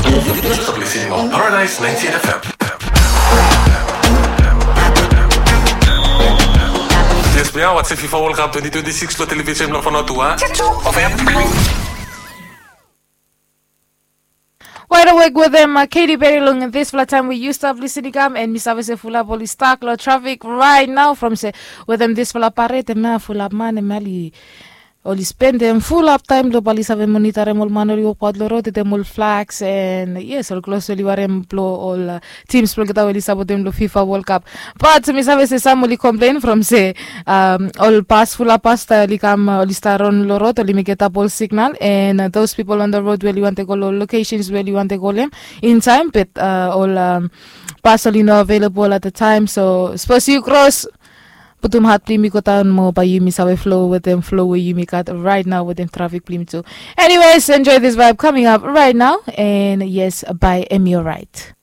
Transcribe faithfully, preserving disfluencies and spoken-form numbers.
You're listening on Paradise ninety-eight F M. Yes, mi awa se FIFA World Cup twenty twenty-six lo television lo Fonotua. Wide Awake wetem Katy Perry long disfala taem we yu stap lisin i kam, and mi save se fulap oli stak lo trafik right now from se wetem disfala paret em ya fulap man em ya oli spendem fulap taem lo bali save monitarem ol man oli wokbaot lo rod wetem ol flags and yes, ol klos we oli warem blo ol tims blo olgeta we oli sapotem lo FIFA World Cup. Bat mi save se sam oli komplen from se ol pas fulap pas stap oli kam oli stap ron lo rod oli mekem tap ol signal and those people on the road we oli wantem go lo locations we oli wantem go lo hem in time, but ol pas oli no available at the time. So sapos yu kros, putum hat blong yumi go daon mo bae yumi save flow wetem flow we yumi gat right now wetem trafik blong yumi tu. Anyways, enjoy this vibe coming up right now, and yes, bae em yu right.